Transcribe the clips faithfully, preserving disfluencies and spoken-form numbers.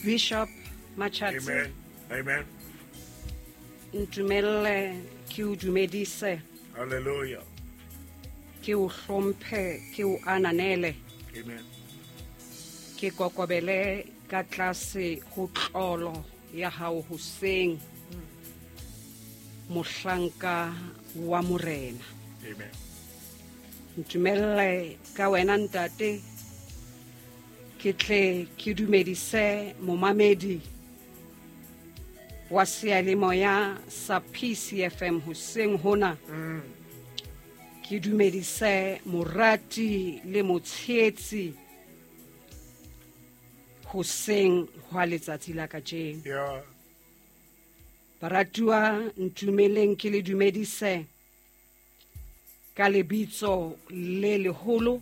Bishop Machatsi. Amen. Amen. Ntumelle ke o dumedise. Hallelujah. Ke o hlomphe, ke o ananele. Amen. Ke kokobele ka tlase ho tlolo ya hao hoseng. Mohlanka wa Morena. Amen. Ntumelle ka wena ntate ke tle ke dumedise momamedi wa seyalemoya sa P C F M hoseng hona. Mm. Ke dumedise morati le motshehetsi hoseng hwa letsatsi la kajeno. Yeah. Baratuwa, ntumeleng ke le dumedise ka lebitso le leholo,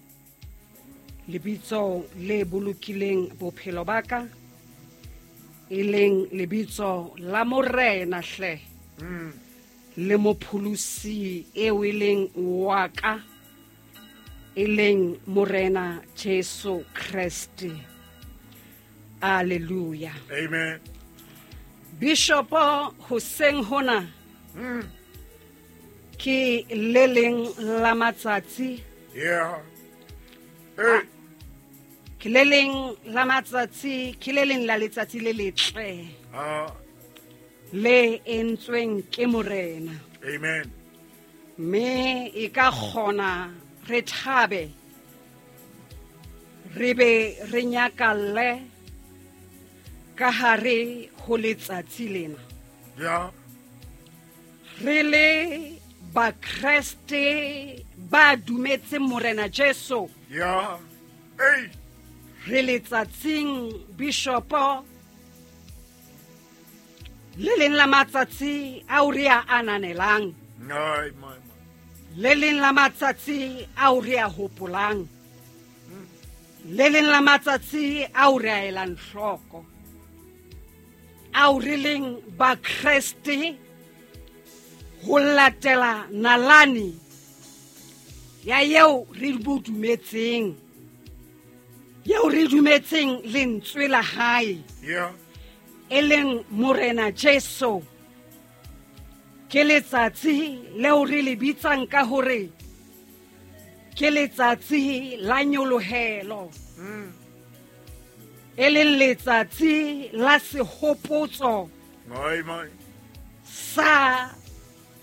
lebitso le bolokileng bophelo ba ka, e leng lebitso la Morena hle. Mm. Le mopholosi eo e leng wa ka, e leng Morena Jesu Kreste. Hallelujah. Amen. Bishop hoseng hona Mm. ke le leng la matsatsi. Yeah. Hey. Ke le leng la matsatsi, ke le leng la letsatsi le letle. Ah. Le entsweng ke Morena. Amen. Mme e ka kgona re thabe, re be re nyakalle ka hare ho letsatsi lena. Yeah. Re le Bakreste ba dumetseng Morena Jesu. Yeah. Hey. Re letsatsing Bishopo le leng la matsatsi ao re a ananelang. Ai, my, my. Le leng la matsatsi ao re a hopolang. Le leng la matsatsi ao re a elang hloko. Ao re leng Bakreste ho latela nalane ya eo re bo dumetseng. Eo re dumetseng lentswe la hae. Yeah. E leng Morena Jesu. Ke letsatsi leo re le bitsang ka hore ke letsatsi la nyolohelo. Mm. E leng letsatsi la sehopotso. Mai, mai. Sa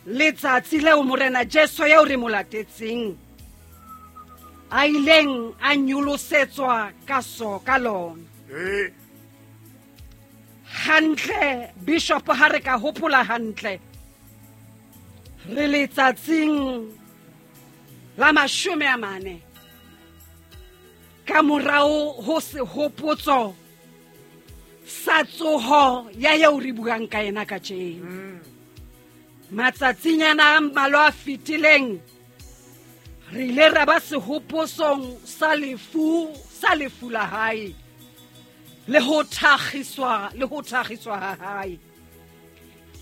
letsatsi leo Morena Jesu eo re mo latetseng a ileng a nyolosetswa ka so ka lona. Eh. Hantle Bishop, ha re ka hopola hantle, re letsatsing la mashome a mane ka morao ho sehopotso sa tsoho ya eo re buang ka yena kajeno. Mm. Matsatsinyana a mmalwa a fetileng re ile ra ba sehopotsong sa lefu, sa lefu la hae le ho thakgiswa, le ho thakgiswa ha hae.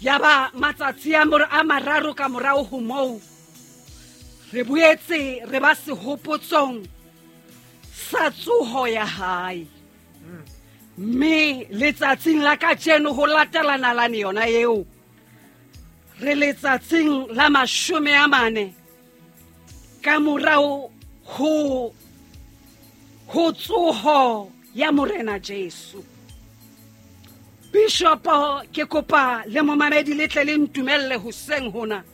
Yaba matsatsi a mor-, a mararo ka morao ho moo re boetse re ba sehopotsong sa tsoho ya hae. Mm. Mme letsatsing la kajeno ho latela nalane yona eo, re letsatsing la mashome a mane ka morao ho, ho tsoho ya Morena Jesu. Bishop, ke kopa le momamedi le tle le ntumelle hoseng hona.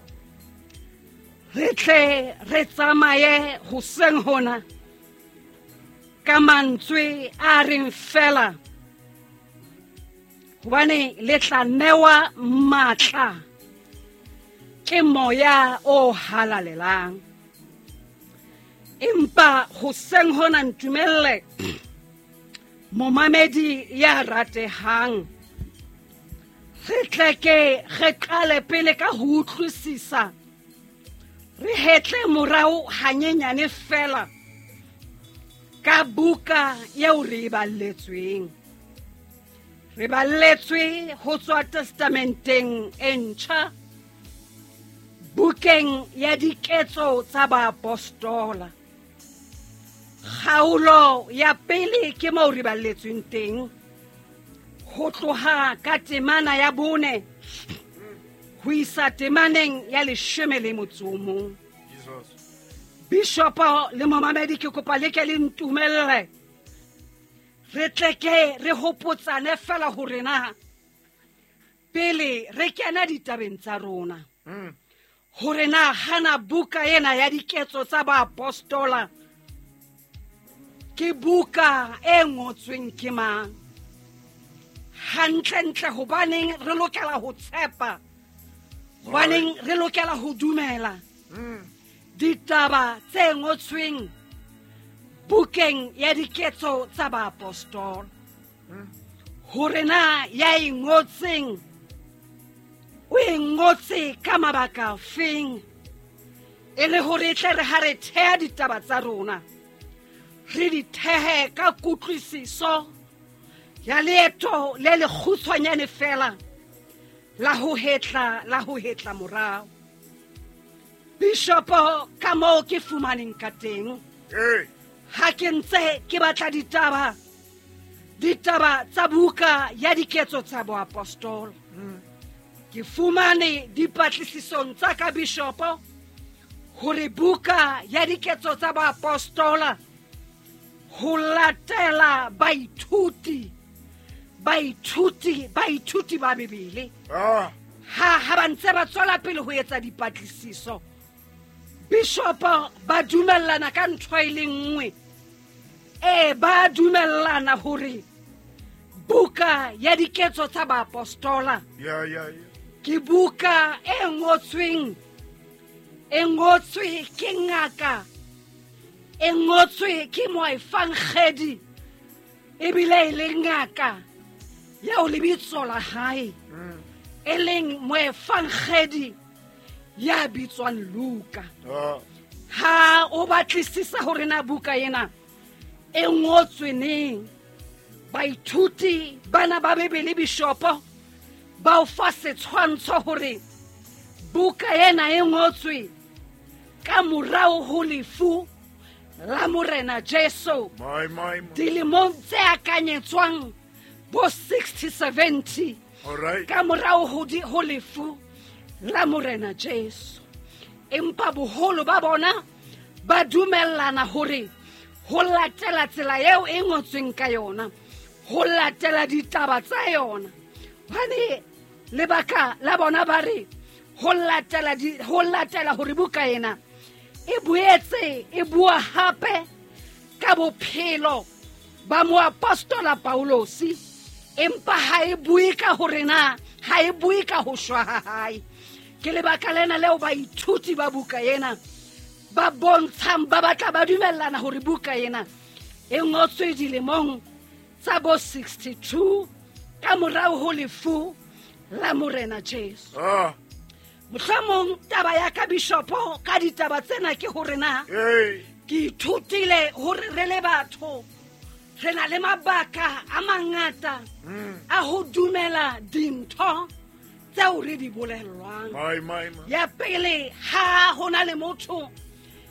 Re tle re tsamaye hoseng hona ka mantswe a reng fela, hobane le tla newa matla ke moya o halalelang. Empa hoseng hona ntumelle momamedi ya ratehang, re tle ke re qale pele ka ho utlwisisa, re hetle morao hanyenyane fela ka buka eo re e balletsweng. Re balletswe ho tswa Testamenteng e ntjha, bukeng ya Diketso tsa Baapostola. Kgaolo ya pele ke moo re balletsweng teng. Ho tloha ka temana ya bone ho isa temaneng ya leshome le motso o mong. Jesus. Bishopo le momamedi, ke kopa le ke le ntumelle re tle ke re hopotsane fela hore na pele re kena ditabeng tsa rona, Mm. hore na hana buka ena ya diketso tsa baapostola ke buka e ngotsweng ke mang. Hantlentle hobaneng re lokela ho tshepa, hobaneng re lokela ho dumela Mm. ditaba tse ngotsweng bukeng ya diketso tsa baapostola, hore na ya e ngotseng o e ngotse ka mabaka afeng, e le hore e tle re ha re theha ditaba tsa rona re di thehe ka kutlwisiso ya leeto le lekgutshwanyane fela la ho hetla, la ho hetla morao. Bishopo, ka moo ke fumaneng ka teng, Hey. ha ke ntse ke batla ditaba, ditaba tsa buka ya diketso tsa boapostola, ke fumane dipatlisisong tsa ka bishopo hore buka ya diketso tsa boapostola ho latela baithuti, baithuti, baithuti ba Bibele, Ah. ha, ha ba ntse ba tswela pele ho etsa dipatlisiso, bishopo ba dumellana ka ntho e le nngwe. E ba dumellana hore buka ya diketso tsa baapostola Ya, ya, ya. ke buka e ngotsweng, e ngotswe ke ngaka, e ngotswe ke moefangedi, ebile e le ngaka eo lebitso la hae Mm. e leng moefangedi ya bitswang Luka. Ah. Ha o batlisisa hore na buka ena e ngotswe neng, baithuti bana ba Bibele bishopo ba o fa setshwantsho hore buka ena e ngotswe ka morao ho lefu la Morena Jesu, My, my, my. dilemong tse akanyetswang bo sixty seventy All right. ka morao ho di-, ho lefu la Morena Jesu. Empa boholo ba bona ba dumellana hore ho latela tsela eo e ngotsweng ka yona, ho latela ditaba tsa yona, hobane lebaka la bona ba re ho latela di-, ho latela hore buka ena e boetse e bua hape ka bophelo ba moapostola Paulosi, empa ha e bue ka hore na, ha e bue ka ho shwa ha hae. Ke lebaka lena leo baithuti ba buka ena ba bontshang, ba batla ba dumellana hore buka ena e ngotswe dilemong tsa bo sixty-two ka morao ho lefu la Morena Jesu. Ah. Mohlomong taba ya ka bishopo ka ditaba tsena ke hore na Hey. ke ithutile hore re le batho re na le mabaka a mangata Mm. a ho dumela dintho tseo re di bolellwang. My, my, my. Ya pele, ha ho na le motho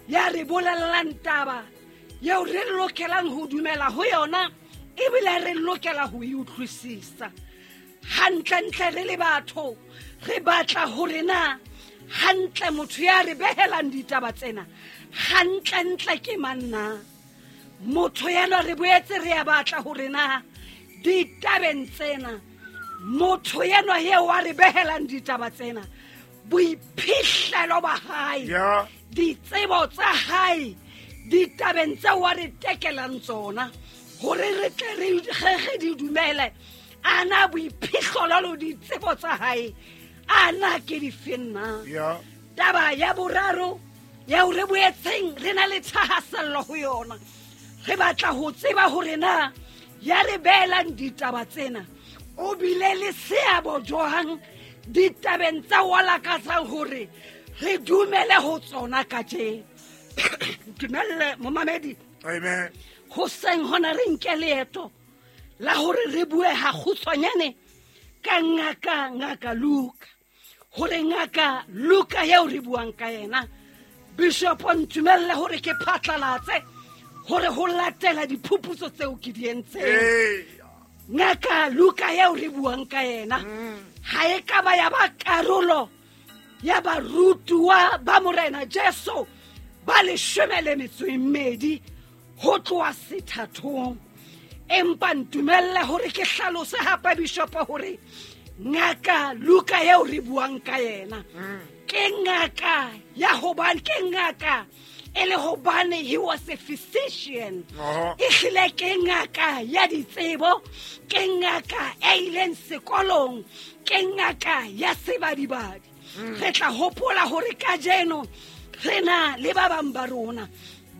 ya re bolellang taba eo re lokelang ho dumela ho yona, ebile re lokela ho e utlwisisa. Hantlentle re le batho re batla hore na hantle motho ya re behelang ditaba tsena hantlentle ke mang na. Motho enwa re boetse re a batla hore na ditabeng tsena motho enwa eo a re behelang ditaba tsena boiphihlelo ba hae, Ya. ditsebo tsa hae ditabeng tseo a re tekelang tsona hore re tle re, re, re di dumele. A na boiphihlelo le ditsebo tsa hae a na ke dife na? Ya. Taba ya boraro eo re boetseng re na le thahasello ho yona, re batla ho tseba hore na ya re behelang ditaba tsena o bile le seabo jwang ditabeng tsa wa lakatsang hore re dumele ho tsona kajeno. Dumelle momamedi. Amen. Hoseng hona re nke leeto la hore re bue ha kgutshwanyane ka ngaka, ngaka Luka. Hore ngaka Luka eo re buang ka yena, Bishop o ntumelle hore ke phatlalatse hore ho latela diphuputso tseo ke di entseng. Ee. Ngaka Luka eo re buang ka yena ha e ka ba ya ba karolo ya barutuwa ba Morena Jesu ba leshome le metso e mmedi ho tloha sethathong. Empa ntumelle hore ke hlalose hape Bishop hore ngaka Luka eo re buang ka yena ke ngaka ya hobane ke ngaka e le hobane he was a physician. E hlile ke ngaka ya ditsebo, ke ngaka e ileng sekolong, ke ngaka ya sebadibadi. Re tla hopola hore kajeno re na le ba bang ba rona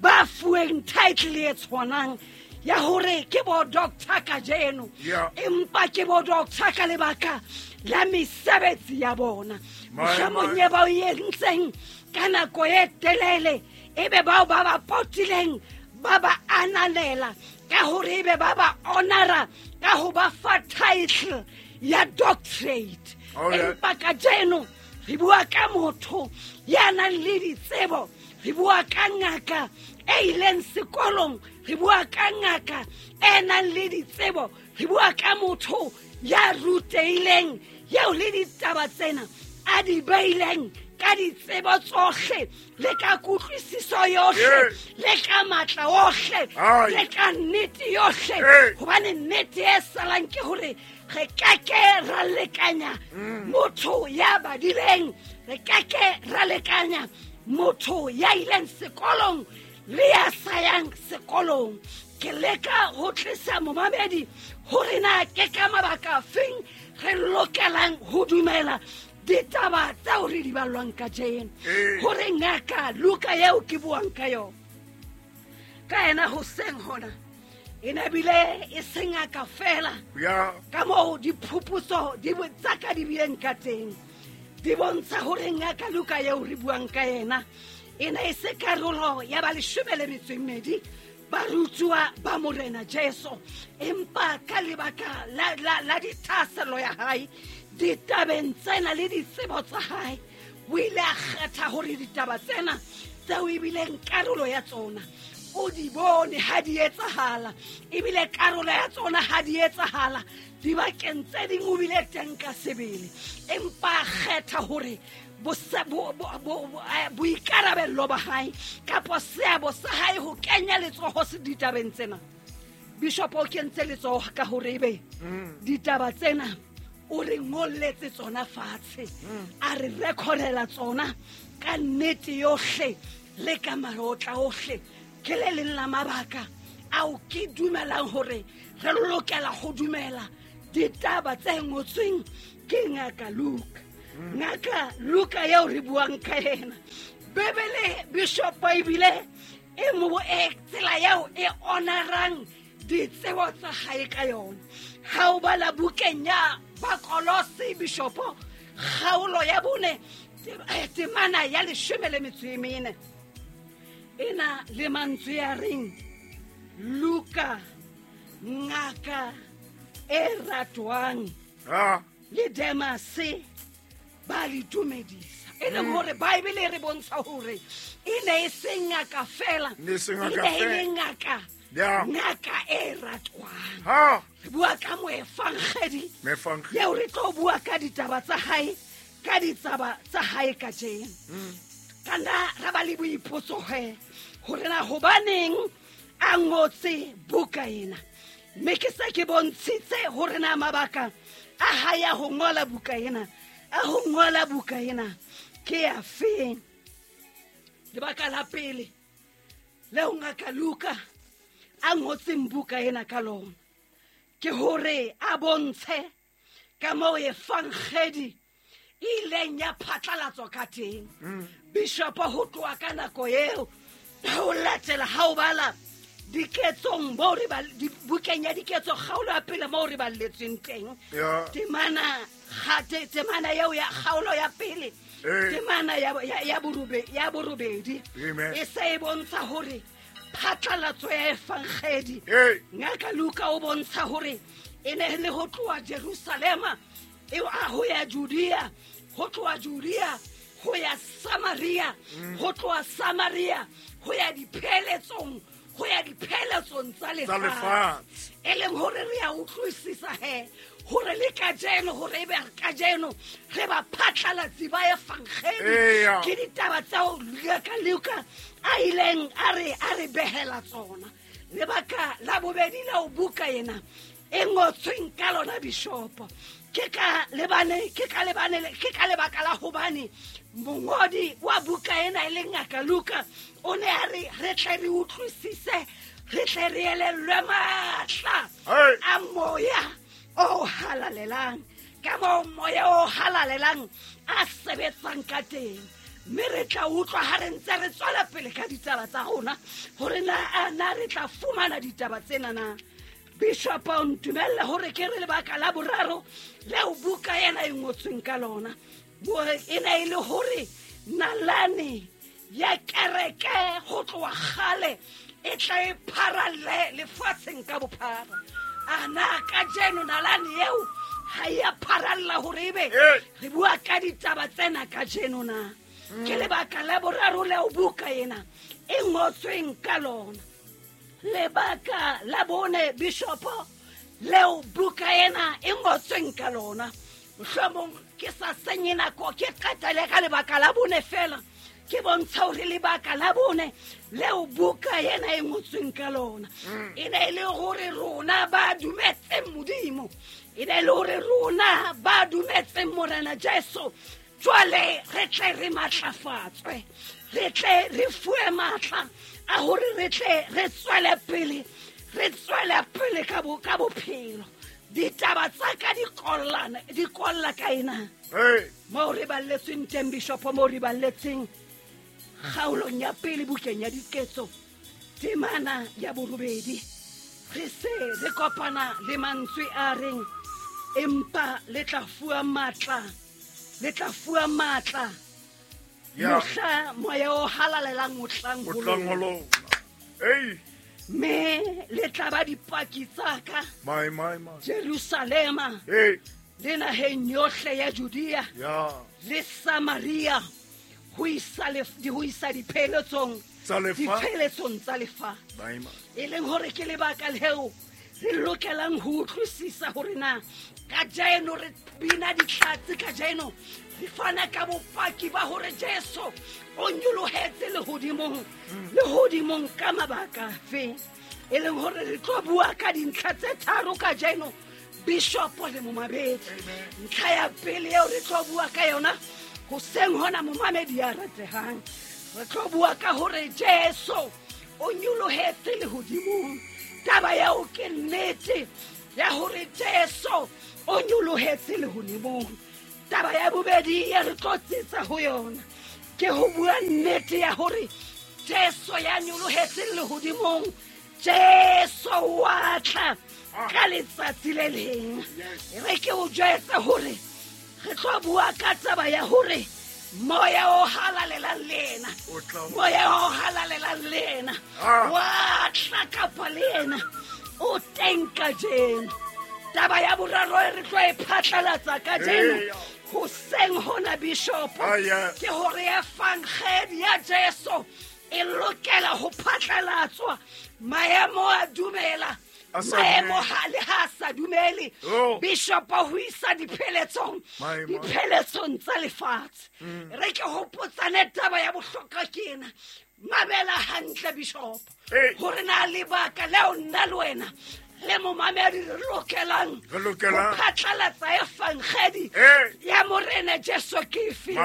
ba fuweng title e tshwanang ya hore ke bo doctor kajeno, empa ke bo doctor ka lebaka la mesebetsi ya bona. Mohlomong e ba o entseng ka nako e telele, ebe bao ba ba potileng ba ba ananela ka hore ebe ba ba honora ka ho ba fa title ya doctorate. Empa kajeno re bua ka motho ya nang le ditsebo, re bua ka ngaka e ileng sekolong, re bua ka ngaka e nang le ditsebo, re bua ka motho ya rutehileng, eo le ditaba tsena a di beileng ka ditsebo tsohle le ka kutlwisiso yohle le ka matla ohle le ka nnete yohle. Hobane nnete e salang ke hore re ka ke ra lekanya motho ya badileng, re ka ke ra lekanya motho ya ileng sekolong le ya sa yang sekolong. Ke leka ho tlisa momamedi hore na ke ka mabaka afeng re lokelang ho dumela ditaba tseo re di ballwang kajeno. Hore ngaka Luka eo ke buang ka yona ka yena hoseng hona e ne bile e se ngaka fela, ka moo diphuputso di tsa ka di bileng ka teng di bontsha hore ngaka Luka eo re buang ka yena e ne e se karolo ya ba leshome le metso e mmedi barutuwa ba Morena Jesu, empa ka lebaka la la la dithahasello ya hae ditabeng tsena le ditsebo tsa hae, o ile a kgetha hore ditaba tsena tseo ebileng karolo ya tsona o di bone ha di etsahala, ebile karolo ya tsona ha di etsahala dibakeng tse ding o bile teng ka sebele. Empa a kgetha hore boikarabello ba hae kapa seabo sa hae ho kenya letsoho se ditabeng tsena. Bishop o kentse letsoho ka hore ebe ditaba tsena o re ngolletse tsona fatshe, a re recordela tsona ka nnete yohle le ka marotla ohle. Ke le leng la mabaka ao ke dumelang hore re lokela ho dumela ditaba tse ngotsweng ke ngaka Luka. Ngaka Luka eo re buang ka yena, Bibele Bishop ebile e mo e tsela eo e honorang ditsebo tsa hae ka yona. Ha o bala bukeng ya Bakolose Bishop kgaolo ya bone temana ya leshome le metso e mene ena le mantswe a reng Luka ngaka e ratwang le Demase ba le dumedisa. E leng hore Bible e re bontsha hore e ne e se ngaka fela, e ne e le ngaka ngaka e ratwang. Re bua ka moefangedi eo re tlo bua ka ditaba tsa hae, ka ditsaba tsa hae kajeno. Ka nna ra ba le boipotso he hore na hobaneng a ngotse buka ena, mme ke se ke bontshitse hore na mabaka a hae a ho ngola buka ena, a ho ngola buka ena ke afeng. Lebaka la pele leo ngaka Luka a ngotseng buka ena ka lona ke hore a bontshe ka moo efangedi e ileng ya phatlalatswa ka teng. Bishop ho tloha ka nako eo ho latela ha o bala diketsong mo re ba bukeng ya diketso kgaolo ya pele mo re balletsweng teng, temana gate temana eo ya kgaolo ya pele temana ya ya borobe ya borobedi e se e bontsha hore phatlalatso ya efangedi ngaka Luka o bontsha hore e ne le ho tloha Jerusalema e a ho ya Judea, ho tloha Judea ho ya Samaria, ho tloha Samaria ho ya dipheletsong ho ya dipheletsong tsa lefatshe. E leng hore re a utlwisisa he hore le kajeno, hore ebe kajeno re ba phatlalatsi ba evangeli ke ditaba tseo Luka Luka a ileng a re a re behela tsona. Lebaka la bobedi la o buka ena e ngotsweng ka lona bishopo ke ka lebane ke ka lebane ke ka lebaka la hobane mongodi wa buka ena e leng Ngaka Luka o ne a re re tle re utlwisise, re tle re elellwe matla a moya o halalelang, ka moo moya o halalelang a sebetsang ka teng. Mme re tla utlwa ha re ntse re tswela pele ka ditaba tsa rona hore na a na re tla fumana ditaba tsena na. Bishop o ntumelle hore ke re lebaka la boraro leo buka ena e ngotsweng ka lona e ne e le hore nalane ya kereke ho tloha kgale e tla e pharalle lefatsheng ka bophara. A na kajeno nalane eo ha e a pharalla hore ebe re bua ka ditaba tsena kajeno na. Ke lebaka la boraro leo buka ena e ngotsweng ka lona. Lebaka la bone bishopo leo buka ena e ngotsweng ka lona, mohlomong ke sa senye nako ke qetele ka lebaka la bone fela, ke bontsha hore lebaka la bone leo buka ena e ngotsweng ka lona e ne e le hore rona ba dumetseng Modimo, e ne e le hore rona ba dumetseng Morena Jesu jwale re tle re matlafatswe, re tle re fuwe matla a hore re tle re tswele pele, re tswele pele ka bo ka bophelo. Ditaba tsa ka di kollana, di kolla ka ena. Moo re balletsweng teng bishopo, moo re balletseng kgaolong ya pele bukeng ya Diketso temana ya borobedi, re se re kopana le mantswe a reng empa le tla fuwa matla, le tla fuwa matla mohla moya o halalelang o tlang ho lona. Mme le tla ba dipaki tsa ka Jerusalema le naheng yohle ya Judea le Samaria ho isa ho isa dipheletsong dipheletsong tsa lefatshe. E leng hore ke lebaka leo re lokelang ho utlwisisa hore na kajeno re bina ditlatse, kajeno re fana ka bopaki ba hore Jesu o nyolohetse lehodimong, lehodimong ka mabaka afe. E leng hore re tlo bua ka dintlha tse tharo kajeno bishopo le momamedi. Ntlha ya pele eo re tlo bua ka yona hoseng hona momamedi ya ratehang, re tlo bua ka hore Jesu o nyolohetse lehodimong. Taba eo ke nnete ya hore Jesu o nyolohetse lehodimong. Taba ya bobedi e re tlo tsitsa ho yona ke ho bua nnete ya hore Jesu ya nyolohetse lehodimong, Jesu wa tla ka letsatsi le leng. Re ke o jwetse hore re tlo bua ka taba ya hore moya o halalelang le ena, moya o halalelang le ena wa tla kapa le ena o teng kajeno. Taba ya boraro e re tlo e phatlalatsa kajeno hoseng hona bishopo ke hore evangeli ya Jesu e lokela ho phatlalatswa. Maemo a dumela, maemo ha le ha sa dumele bishopo ho isa dipheletsong, dipheletsong tsa lefatshe. Re ke hopotsane taba ya bohlokwa ke ena. Mamela hantle bishopo hore na lebaka leo nna le wena le momamedi re lokelang ho phatlalatsa evangeli ya Morena Jesu ke efe.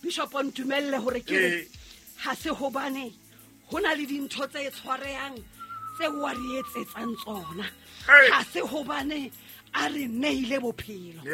Bishopo ntumelle hore ke re ha se hobane ho na le dintho tse tshwarehang tse wa re etsetsang tsona, ha se hobane a re neile bophelo,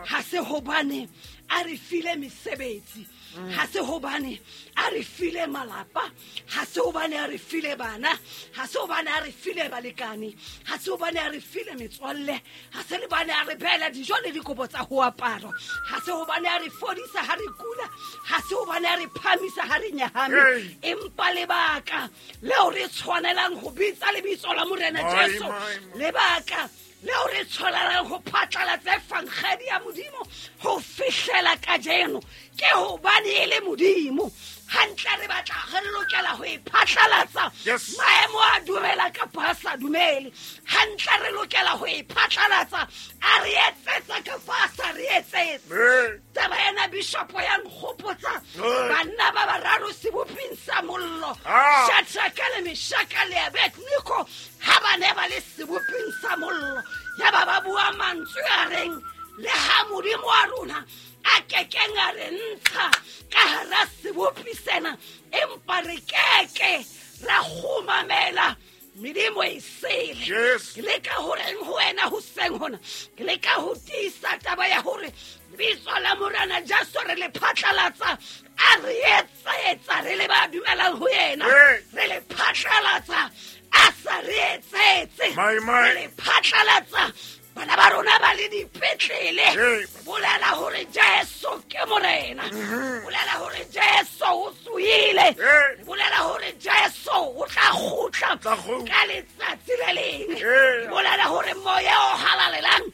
ha se hobane a re file mesebetsi, ha se hobane a re file malapa, ha se hobane a re file bana, ha se hobane a re file balekane, ha se hobane a re file metswalle, ha se hobane a re beela dijo le dikobo tsa ho apara, ha se hobane a re fodisa ha re kula, ha se hobane a re phamisa ha re nyahame. Empa lebaka leo re tshwanelang ho bitsa lebitso la Morena Jesu, lebaka Leo re tshwelelang ho phatlalatsa evangeli ya Modimo ho fihlela kajeno ke hobane e le Modimo. Hantle re batla re lokela ho e phatlalatsa. Yes. Maemo a dumela kapa a sa dumele. Hantle re lokela ho e phatlalatsa. A re etsetsa kapa a sa re etsetse. Ee. Taba ena bishopo ya nkgopotsa Ee. banna ba bararo seboping sa mollo. Ah. Shadraka le Meshaka le Abednego ha ba ne ba le seboping sa mollo. Ya ba ba bua mantswe a reng le ha Modimo wa rona a kekeng a re ntsha ka hara sebopi sena, empa re keke ra kgumamela medimo e sele. Yes. Ke leka ho reng ho wena hoseng hona, ke leka ho tiisa taba ya hore lebitso la Morena Jesu re le phatlalatsa, a re etsetsa re le ba dumelang ho yena. Ee. Re le phatlalatsa, a sa re etsetse. My, my. Re le phatlalatsa, bana ba rona ba le dipetlele. Ee. Bolela hore Jesu ke Morena. Mhm. Bolela hore Jesu o tsohile. Ee. Bolela hore Jesu o tla kgutla Tla kgutla. ka letsatsi le leng. Ee. Bolela hore moya o halalelang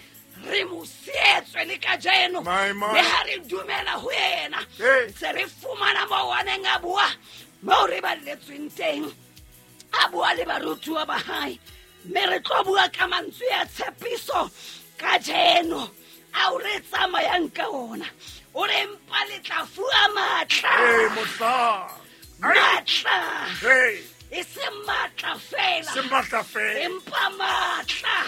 re mo sietswe le kajeno. My, my. Le ha re dumela ho yena. Ee. Se re fumana moo a neng a bua, moo re balletsweng teng. A bua le barutuwa ba hae. Mme re tlo bua ka mantswe a tshepiso kajeno ao re tsamayang ka ona. O re mpa le tla fuwa matla. Ee, mohla. Ai. Matla. Ee. E se matla fela. Se matla fela. Empa matla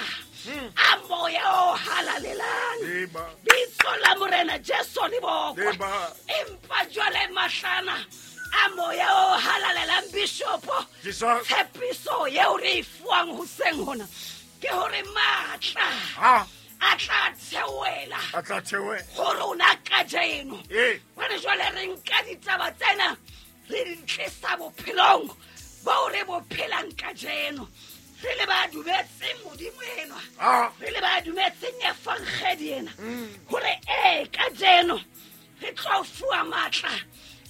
Hmm. a moya o halalelang. Eba. Bitso la Morena Jesu le bokwe. Eba. Empa jwale mahlana a moya o halalelang bishopo. Jesus. Tshepiso eo re e fuwang hoseng hona ke hore matla Ha. a tla theohela A tla theohela. ho rona kajeno. Ee. Hobane jwale re nka ditaba tsena re di tlisa bophelong boo re bo phelang kajeno. Re le ba dumetseng Modimo enwa. Ah. Re le ba dumetseng evangeli ena. Mm. Hore ee kajeno re tlo fuwa matla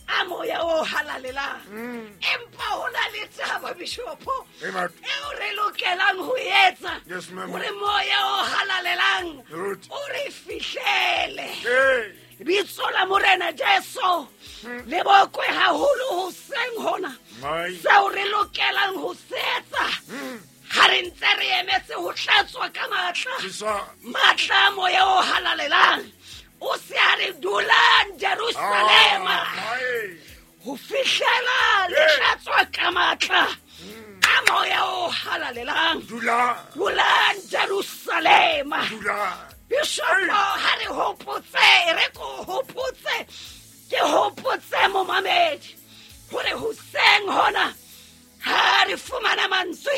a moya o halalelang. Mm. Empa ho na le taba bishopo Ee, batho. eo re lokelang ho etsa. Yes, ma'am. Hore moya o halalelang Ruth. o re fihlele. Ee. Lebitso la Morena Jesu le bokwe haholo hoseng hona. My. Seo re lokelang ho se etsa Mm. ha re ntse re emetse ho tlatswa ka matla. Jesus. Matla a moya o halalelang o se a re dulang Jerusalema. Ah, my. Ho fihlela le Ee. tlatswa ka matla a moya o halalelang. Dula. Dulang Jerusalema. Dula. Bishopo ha re hopotse, re ko hopotse, ke hopotse momamedi hore hoseng hona ha re fumana mantswe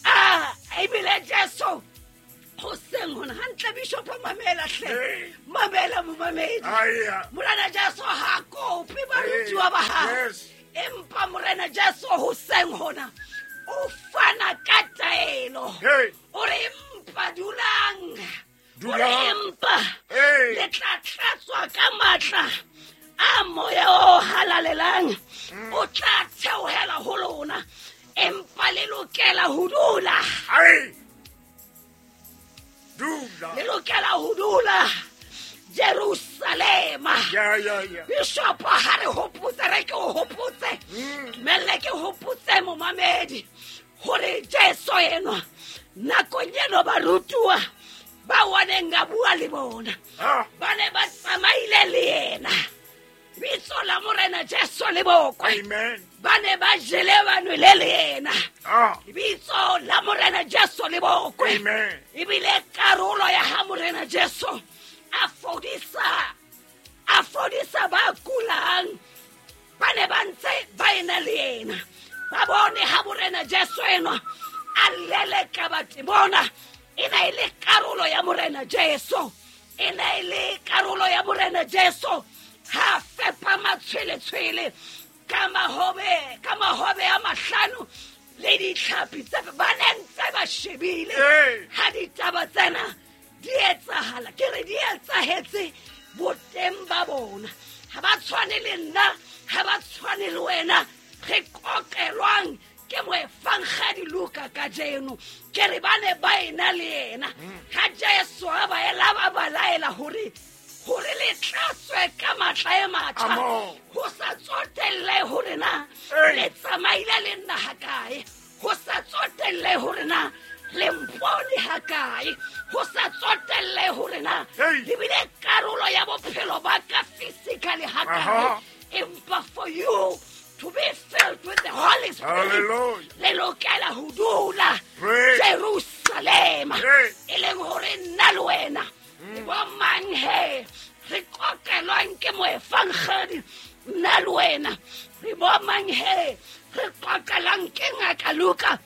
a ebile Jesu hoseng hona hantle bishopo mamela hle. Ee. Mamela momamedi. Aya. Morena Jesu ha kope barutuwa ba hae. Yes. Empa Morena Jesu hoseng hona o fana ka taelo. Hey. O re empa dulang. Dulang. O re empa Hey. le tla tlatswa ka matla a moya o halalelang. O tla theohela ho lona. Empa le lokela ho dula. Ai. Dula. Le lokela ho dula Jerusalema. Ya, ya, ya. Bishop ha re hopotse, re ke o hopotse. Mm. Dumelle ke hopotse momamedi hore Jesu enwa nakong eno barutuwa ba waneng a bua le bona. Ah. Ba ne ba tsamaile le yena. Bitso la Morena Jesu le bokwe. Amen. Ba ne ba jele ba nwele le yena. Ah. Bitso la Morena Jesu le bokwe. Amen. Ebile karolo ya ha Morena Jesu a fodisa, a fodisa ba kulang. Ba ne ba ntse ba ena le yena. Ba bone ha Morena Jesu enwa a leleka batemona. E ne e le karolo ya Morena Jesu. E ne e le karolo ya Morena Jesu. Ha fepa matshweletshwele ka mahobe, ka mahobe a mahlano le ditlhapi tse ba ne ntse ba shebile. Ee. Ha ditaba tsena di etsahala, ke re di etsahetse boteng ba bona. Ha ba tshwane le nna, ha ba tshwane le wena. Re qoqelwang ke moefangedi Luka kajeno ke re ba ne ba ena le yena ha Jesu a ba ela ba ba laela hore hore le tlatswe ka matla e matjha ho sa tsotelle hore na le tsamaile le nna hakae, ho sa tsotelle hore na le mpone hakae, ho sa tsotelle hore na le bile karolo ya bophelo ba ka physically hakae, empa for you to be filled with the Holy Spirit le lokela ho dula Jerusalema e leng hore nna le wena le bo mang he re qoqelwang ke moefangedi, nna le wena re bo mang he re qoqelang ke ngaka Luka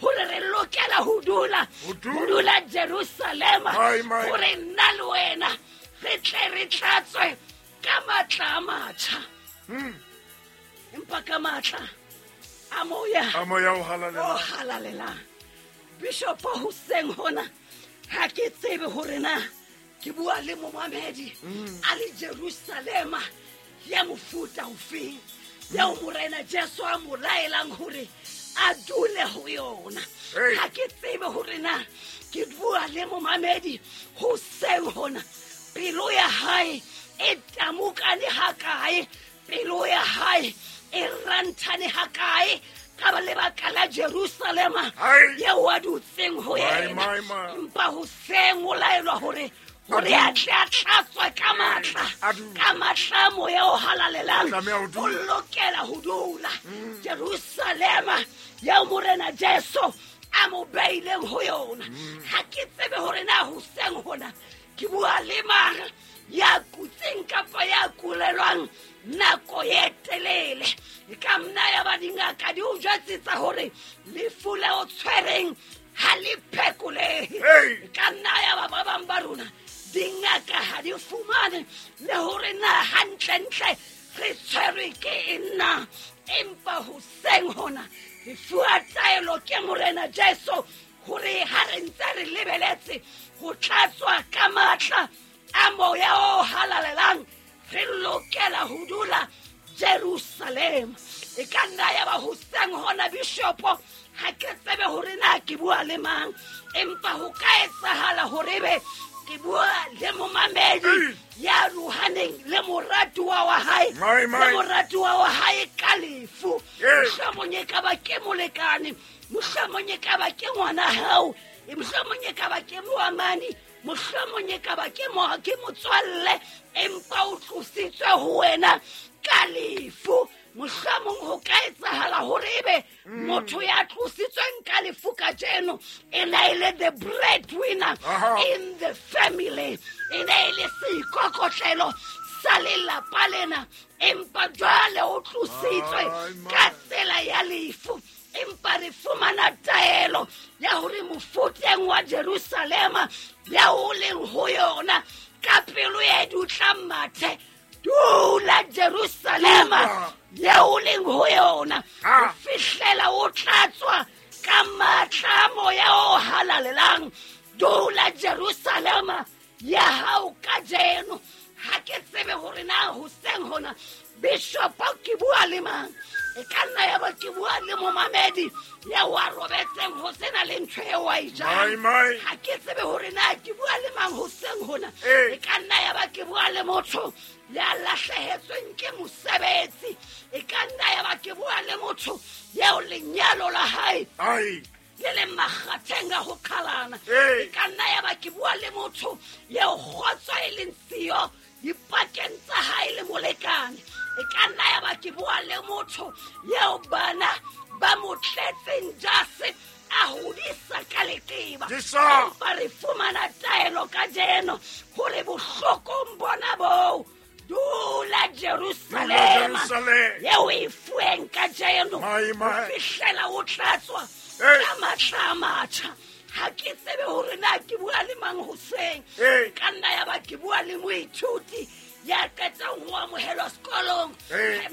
hore re lokela ho dula ho dula Jerusalema hore nna le wena re tle re tlatswe ka matla a matjha, empa ka matla a moya a moya o halalelang o halalelang. Bishop hoseng hona ha ke tsebe hore na ke bua le momamedi a le Jerusalema ya mofuta ofeng eo Morena Jesu a mo laelang hore a dule ho yona. Ha ke tsebe hore na ke bua le momamedi hoseng hona pelo ya hae e tamukane hakae, pelo ya hae e ranthane hakae ka lebaka la Jerusalema eo a dutseng ho yena, empa hoseng o laelwa hore hore a tle a tlatswe ka matla ka matla a moya o halalelang o lokela ho dula Jerusalema eo Morena Jesu a mo beileng ho yona. Ha ke tsebe hore na hoseng hona ke bua le mang ya kutseng kapa ya kulelwang nako e telele. E ka nna ya ba dingaka di o jwetsetsa hore lefu le o tshwereng ha le phekolehe. E ka nna ya ba ba bang ba rona dingaka ha di fumane le hore na hantlentle re tshwerwe ke eng na, empa hoseng hona re fuwa taelo ke Morena Jesu hore ha re ntse re lebeletse ho tlatswa ka matla a moya o halalelang re lokela ho dula Jerusalema. E ka nna ya ba hoseng hona bishopo ha ke tsebe hore na ke bua le mang, empa ho ka etsahala hore ebe ke bua le momamedi ya rohaneng le moratuwa wa hae le moratuwa wa hae ka lefu. Mohlomong e ka ba ke molekane, mohlomong e ka ba ke ngwana hao, mohlomong e ka ba ke moamani, mohlomong e ka ba ke mo ke motswalle, empa o tlositswe ho wena ka lefu. Mohlomong ho ka etsahala hore ebe motho ya tlositsweng ka lefu kajeno e ne e le the breadwinner in the family, e ne e le seikokotlelo sa lelapa lena, empa jwale o tlositswe ka tsela ya lefu. Empa re fumana taelo ya hore mofuteng wa Jerusalema ya o leng ho yona ka pelo e dutlang mathe, dula Jerusalema ya o leng ho yona ho fihlela o tlatswa ka matla a moya o halalelang. Dula Jerusalema ya hao kajeno. Ha ke tsebe hore na hoseng hona bishop ke bua le mang, e ka nna ya ba ke bua le momamedi ya wa robetseng ho sena le ntho eo a e jang. Ha ke tsebe hore na ke bua le mang hoseng hona, e ka nna ya ba ke bua le motho ya lahlehetsweng ke mosebetsi, e ka nna ya ba ke bua le motho eo lenyalo la hae le le makgatheng a ho qhalana, e ka nna ya ba ke bua le motho eo kgotso e leng siyo dipakeng tsa hae le molekane, e ka nna ya ba ke bua le motho eo bana ba mo tletseng jase a hodisa ka leqeba. Empa re fumana taelo kajeno hore bohlokong bona boo dula Jerusalema eo e fuweng kajeno ho fihlela o tlatswa ka matla a matjha. Ha ke tsebe hore na ke bua le mang hoseng, ka nna ya ba ke bua le moithuti ya qetang ho amohelwa sekolong,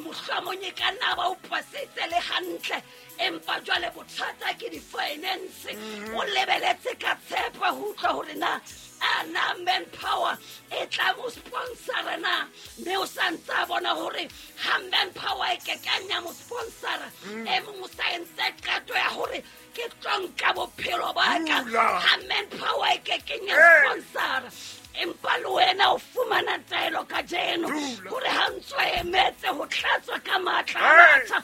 mohlomong e ka nna ba o pasitse le hantle, empa jwale bothata ke di-finance. O lebeletse ka tshepo ho utlwa hore na a Na na manpower e tla mo sponsora na? Mme o sa ntse a bona hore ha manpower e kekeng ya mo sponsora, e mong o sa entse qeto ya hore ke tlo nka bophelo ba ka. Ha manpower e kekeng ya sponsora. Empa le wena o fumana taelo kajeno hore ha ntso emetse ho tlatswa ka matla a matjha,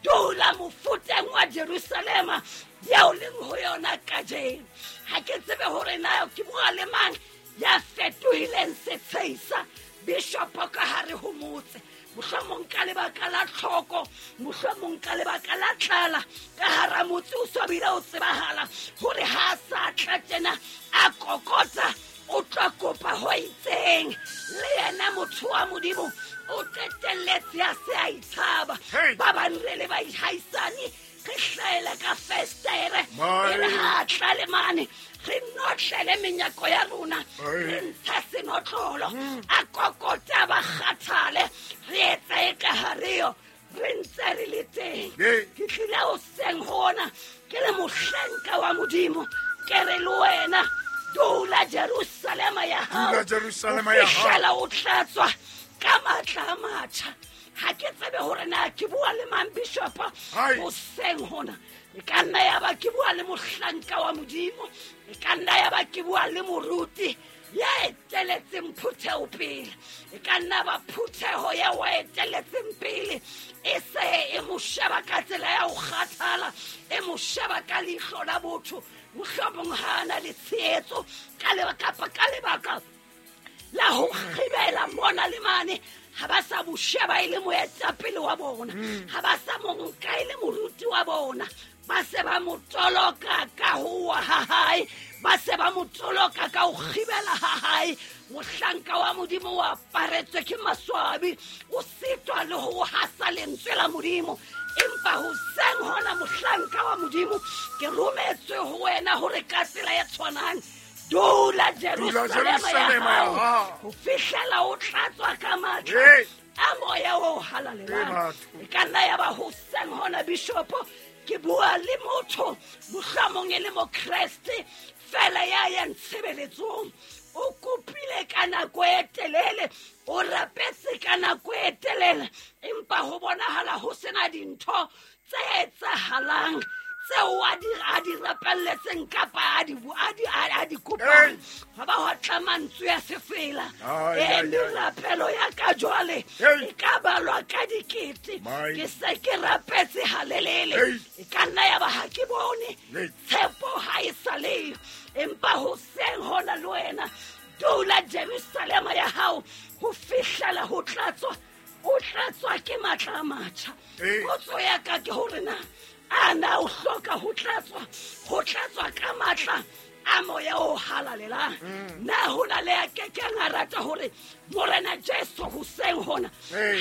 dula mofuteng wa Jerusalema eo leng ho yona kajeno. Ha ke tsebe hore na ke bua le mang ya fetohileng setsheisa bishopo ka hare ho motse, mohlomong ka lebaka la tlhoko, mohlomong ka lebaka la tlala ka hara motse. O so bile o tsebahala hore ha sa tla tjena a kokota, o tla kopa ho itseng. Le yena motho wa Modimo o qetelletse a se a itshaba. Ba bang re le baihaisane re hlaela ka festere, e re ha tla le mane re notlele menyako ya rona, re ntsha senotlolo, a kokota ba kgathale, re etsa e ka hareo re ntse re le teng. Ke tlile hoseng hona ke le mohlanka wa Modimo, ke re le wena dula Jerusalema ya hao, dula Jerusalema ya hao, fihlela o tlatswa ka matla a matjha. Ha ke tsebe hore na ke bua le mang bishopo hoseng hona. E ka nna ya ba ke bua le mohlanka wa Modimo, e ka nna ya ba ke bua le moruti ya eteletseng phutheho pele, e ka nna ba phutheho ya wa eteletseng pele e se e mo sheba ka tsela ya ho kgathala, e mo sheba ka leihlo la botho, mohlomong ha a na le tshehetso ka lebaka ka lebaka la ho kgibela mona le mane. Ha ba sa mo sheba e le moetapele wa bona, ha ba sa mo nka e le moruti wa bona, ba se ba mo toloka ka ho wa ha hae, ba se ba mo toloka ka ho kgibela ha hae. Mohlanka wa Modimo o aparetswe ke maswabi, o sitwa le ho hasa lentswe la Modimo. Empa hoseng hona mohlanka wa Modimo, ke rometswe ho wena hore ka tsela e tshwanang dula Jerusalema ya hao ho fihlela o tlatswa ka matla a moya o halalelang. E ka nna ya ba hoseng hona bishopo ke bua le motho mohlomong e le mokreste fela ya yang tshebeletsong, o kopile ka nako e telele, o rapetse ka nako e telele, empa ho bonahala ho sena dintho tse etsahalang tseo a di a di rapelletseng kapa a di a di a di kopang. Ha ba ho tla mantswe ya sefela, e merapelo ya ka jwale e ka balwa ka dikete. Ke se ke rapetse halelele, e ka nna ya ba ha ke bone tshepo ha e sa leyo. Empa hoseng hona le wena dula Jerusalema ya hao ho fihlela ho tlatswa, o tlatswa ke matla a matjha. Potso ya ka ke hore na a na o hloka ho tlatswa, ho tlatswa ka matla a moya o halalelang? Na ho na le a kekeng a rata hore Morena Jesu hoseng hona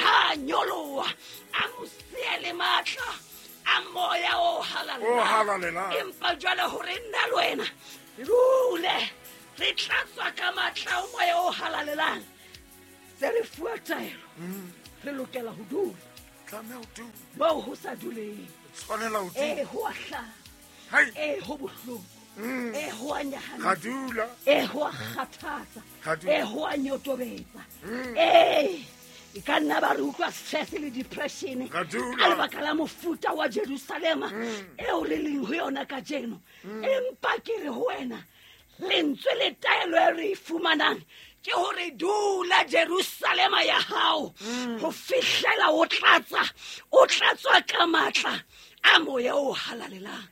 ha nyoloha a mo siele matla a moya o halalelang? Empa jwale hore nna le wena re dule re tlatswa ka matla a moya o halalelang, tse re fuwa taelo, re lokela ho dula. Tlameha ho dula moo ho sa duleng. Tshwanela ho dula. E ho a hlaba, e ho bohloko, e ho a nyahamisa, Ra dula. e ho a kgathatsa, Ra dula. e ho a nyotobetsa. E e ka nna ba re utlwa stress le depression Ra dula. ka lebaka la mofuta wa Jerusalema eo re leng ho yona kajeno. Empa ke re ho wena, lentswe le taelo e re e fumanang ke hore dula Jerusalema ya hao ho fihlela o tlatsa, o tlatswa ka matla a moya o halalelang.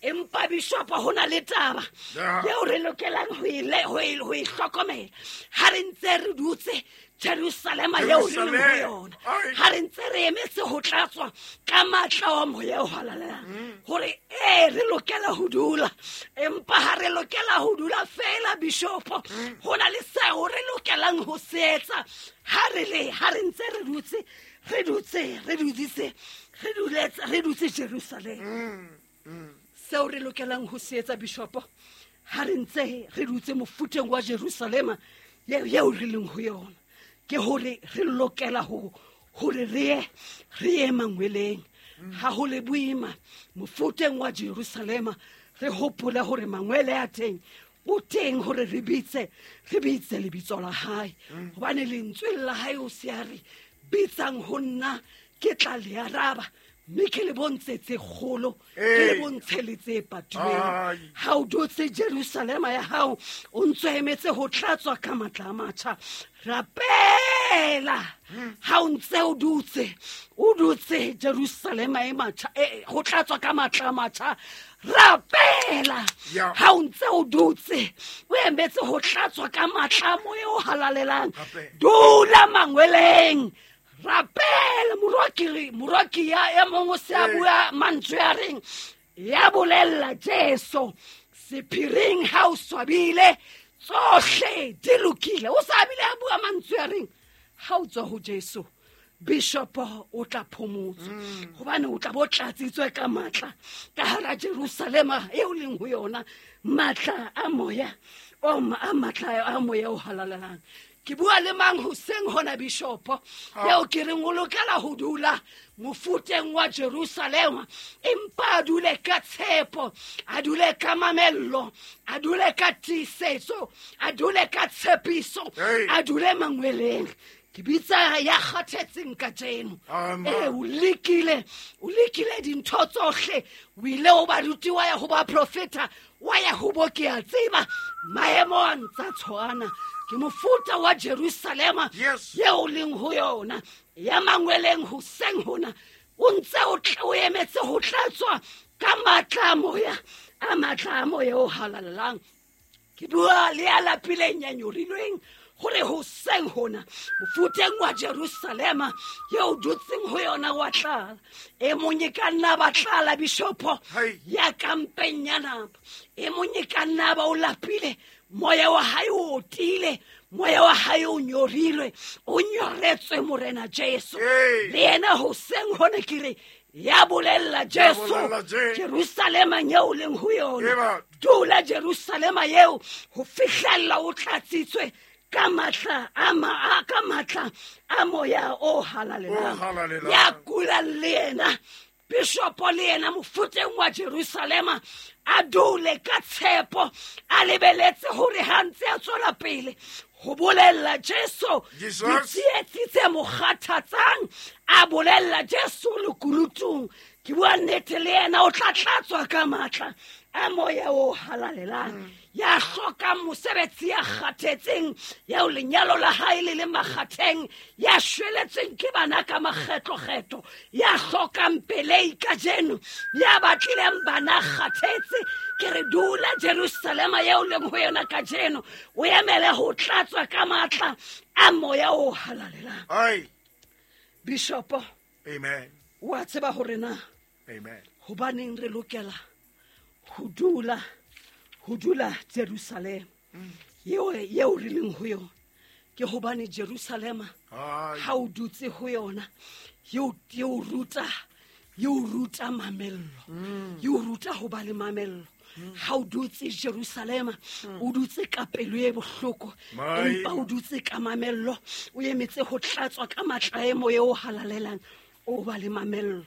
Empa bishopo ho na le taba eo re lokelang ho e ho e ho e hlokomela ha re ntse re dutse Jerusalema eo re leng ho yona, ha re ntse re emetse ho tlatswa ka matla a moya o halalelang, hore e re lokela ho dula. Empa ha re lokela ho dula fela bishopo, ho na le seo re lokelang ho se etsa ha re le ha re ntse re dutse re dutse re duditse re duletse re dutse Jerusalema. Seo re lokelang ho se etsa bishopo ha re ntse re dutse mofuteng wa Jerusalema eo re leng ho yona, ke hore re lokela ho hore re re ye mangweleng. Ha ho le boima mofuteng wa Jerusalema, re hopole hore mangwele a teng O teng hore re bitse, re bitse lebitso la hae. Hobane lentswe la hae o se a re bitsang ho nna ke tla le araba. Mme ke le bontshe tse kgolo, ke le bontshe le tse patilweng. Ha o dutse Jerusalema ya hao, o ntso emetse ho tlatswa ka matla a matjha. Rapela. Ha o ntse o dutse, o dutse Jerusalema e matjha, e ho tlatswa ka matla a matjha. Rapela. Ha o ntse o dutse, o emetse ho tlatswa ka matla a moya o halalelang. Dula mangweleng. Rapela moroki, moroki ya e mongwe se a bua mantswe a reng ya bolella Jesu sephiring ha o swabile tsohle di lokile. O sa bile a bua mantswe a reng ha o tswa ho Jesu bishop o tla phomotswa, hobane o tla bo tlatsitswe ka matla ka hara Jerusalema eo leng ho yona, matla a moya o a matla a moya o halalelang. Ke bua le mang hoseng hona bishop eo ke reng o lokela ho dula mofuteng wa Jerusalema, empa a dule ka tshepo, a dule ka mamello, a dule ka tiisetso, a dule ka tshepiso, a dule mangweleng. Ke bitsa ya kgathetseng kajeno. Eh, o lekile, o lekile dintho tsohle, o ile ho baruti wa ya ho baprofeta, wa ya ho bo ke a tseba maemo a ntsa tshwana. Ke mofuta wa Jerusalema eo leng ho yona, ya mangweleng hoseng hona, o ntse o tla o emetse ho tlatswa ka matla a moya, a matla a moya o halalelang. Ke bua le ya lapileng ya nyorilweng hore hoseng hona mofuteng wa Jerusalema eo dutseng ho yona wa tlala. E mong e ka nna ba tlala bishopo ya kampeng ya napa, e mong e ka nna ba o lapile, moya wa hae o otile, moya wa hae o nyorilwe, o nyoretswe Morena Jesu. Le yena hoseng hona ke re ya bolella Jesu Jerusalema eo leng ho yona, dula Jerusalema eo ho fihlella o tlatsitswe ka matla a ma ka matla a moya o halalelang. Ya kulang le yena bishop le yena mofuteng wa Jerusalema a dule ka tshepo, a lebeletse hore ha ntse a tswela pele ho bolella Jesu ditsietsi tse mo kgathatsang, a bolella Jesu lekunutung. Ke bua nnete le yena o tla tlatswa ka matla a moya o halalelang. Ya hlokang mosebetsi, ya kgathetseng, ya o lenyalo la hae le le makgatheng, ya shweletseng ke bana ka makgetlokgetlo, ya hlokang pelei kajeno, ya batlileng bana kgathetse, ke re dula Jerusalema eo leng ho yona kajeno, o emele ho tlatswa ka matla a moya o halalelang. Ai Bishop, amen. Wa tseba hore na amen hobaneng re lokela ho dula ho dula Jerusalema eo eo re leng ho yona? Ke hobane Jerusalema ha o dutse ho yona eo eo ruta eo ruta mamello, eo ruta ho ba le mamello. Ha o dutse Jerusalema o dutse ka pelo e bohloko, empa o dutse ka mamello, o emetse ho tlatswa ka matla a moya o halalelang, o ba le mamello.